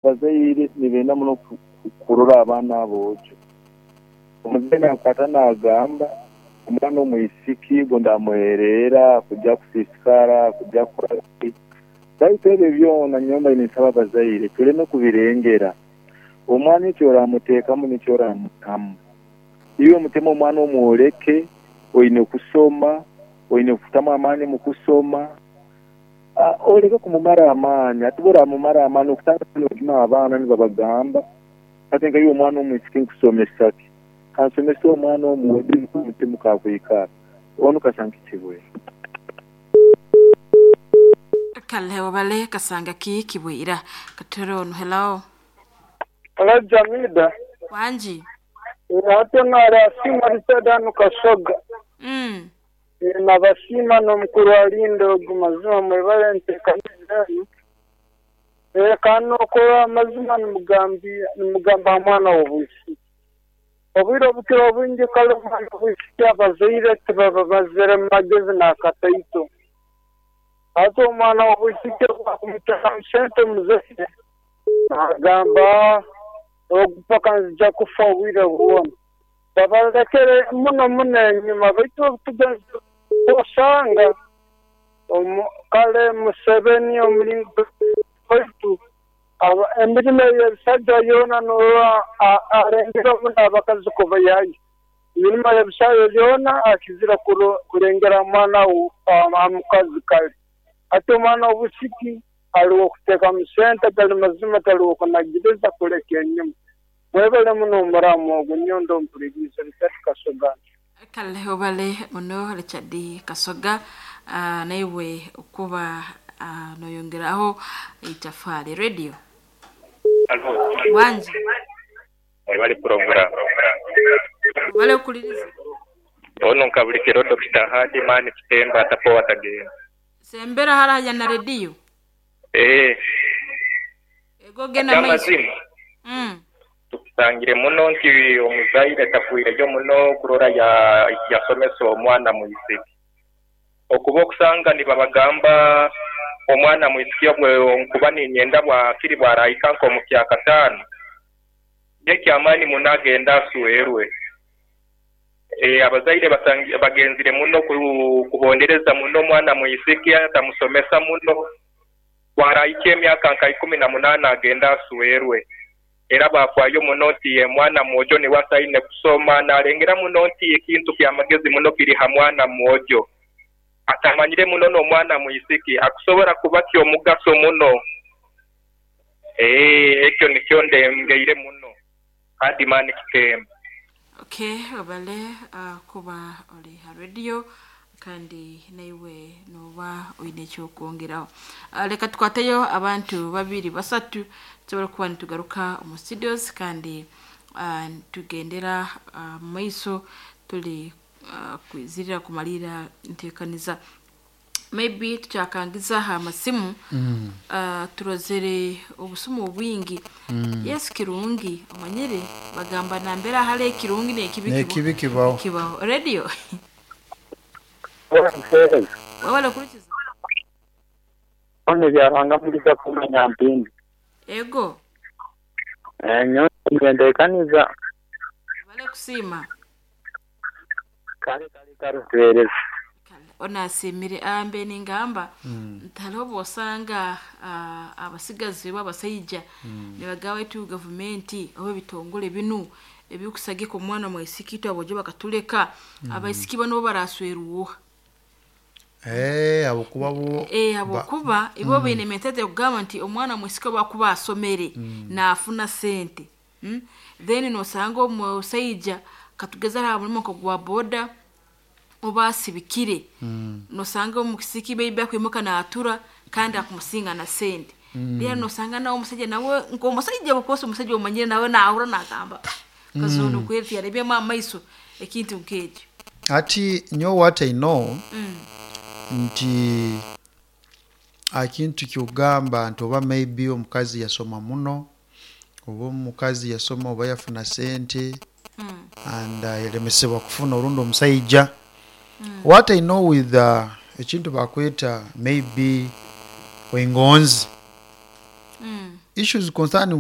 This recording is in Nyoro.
Abazaire nibenda muno kurora abaana aboojo. Omuzaire nakwata nagamba omwana omwisiki gundi amuhereera kuja kusiisikara, kuja kukora ki. Baitu ebyo byona nyowe mbaire ninsaba abazaire tuleme kubirengera. Omwana eki oramuteekamu nikyo oramwihamu. Iwe mutemu omwana omworeke oine kusoma, oine kutamu amaani mu kusoma. Oleke kumumara amaani. Hati bw'oramumara amaani okusanga nojuma abaana nibabagamba, hati nka iwe omwana omwisiki nkusomesa ki? Kansomese omwana omwojo nikwo omutima kakwikara. Onu kasanga kibwire. Kale webale kasanga ki kibwira. Katwere onu hello. Hello Jamida. Wangi. Hati ono ali asiimwa Richard hanu Kasoga. Nabasiima n'omukuru Alinda ogu mazima mwebale entekaniza enu. Kandi n'okurora amazima nimugamba ha mwana w'obwisiki. Obwire obukira obwingi kale omwana w'obwisiki abazaire tibabamazire mumagezi n'akataito. Hati omwana w'obwisiki obu akumutekamu sente omuzaire nagamba ogu paka nzija kufa obwire bwona. Babalekere muno muno enyuma baitu obutugenzere osanga kale Museveni omulingo president waitu emirimo eyebisaija yoona norora alengere muno abakazi kubaihayo. Emirimo eyebisaija yoona akizire kulengera mwana mukazi kale. Hati omwana wobwisiki ali wokutekamu sente gali mazima tali wokunagiriza kuleka enyuma. Mwebale muno omuramu ogu nyowe ndi omupuliiriza Richard Kasoga. Kale webale muno Richard Kasoga naiwe okuba noyongeraho eitafali. Radio. Halo. Wangi. Mwebale pulogulaamu. Webale kukuliriza. Ono nkabulikiro Dokita Hadi Mani Kitemba atapowa atagenda. Sembera hare haja na rediyo. Eeh. Ego genda maiso. Ekyamazima, tukisangire muno nti omuzaire tafwireyo muno kurora yasomesa omwana mwisiki. Okuba okusanga nibabagamba omwana mwisiki obwo nkuba ninyenda bwakiri bwarahika nkomukyakataanu, nekyamaani muno agende aswerwe. Eeh abazaire bagenzire muno kubondereza muno omwana mwisiki tamusomesa muno, bwarahikya emyaka nka ikumi na munaana agende aswerwe. Era bafaayo muno nti omwana mwojo niwe asaine kusoma nalengera muno nti ekintu kyamagezi muno kiri ha mwana mwojo. Atamanyire muno n'omwana mwisiki akusobola kuba kyomugaso muno. Eeh ekyo nikyo ndengeire muno. Hardman Kitemba. Ok webale kuba ori ha radio kandi naiwe noba oine ekyokwongeraho. Leka tukwateyo abantu babiri basatu tusobole kuba nitugaruka omu studios kandi nitugendera mumaiso turi kwizirira kumalira entekaniza. Maybe tukyakangiza aha masimu turozere obusimu obwingi. Yes kirungi omanyire bagamba nambere ahari ekirungi nekibi Nekibi kibaho. Kibaho. Radio. Webale kurikiza. Ono Byaruhanga Mugisa kuuma Nyampindi. Ego. Nyowe nyentekaniza. Webale kusiima. Kale kale kale tuhereze. Onu asiimire mbe ningamba nti hariho obwosanga abasigazi oba abasaija nibagamba baitu gavumenti oba ebitongore binu ebikusagika omwana mwisiki itwe aboojo bakatuleka abaisiki banu bo baraswera oha? Eeh habwokuba bo Habwokuba ibo baine mentality eyokugamba nti omwana mwisiki obu akuba asomere nafuna sente then nosanga omusaija katugeze ari aha murimo nk'ogwa boda oba asibikire nosanga omwisiki maybe akwimuka natura kandi akumusinga na sente then nosanga nawe omusaija nawe nk'omusaija of omusaija omanyire nawe nahurra nagamba kazoona kweri tiyarebyemu amaiso ekintu nk'ekyo. Hati nyowe what I know nti akintu kyogamba nti oba maybe omukazi yasoma muno oba omukazi yasoma oba yafuna sente and yalemesebwa kufuna orundi omusaija. What I know with ekintu bakweta maybe engonzi. Issues concerning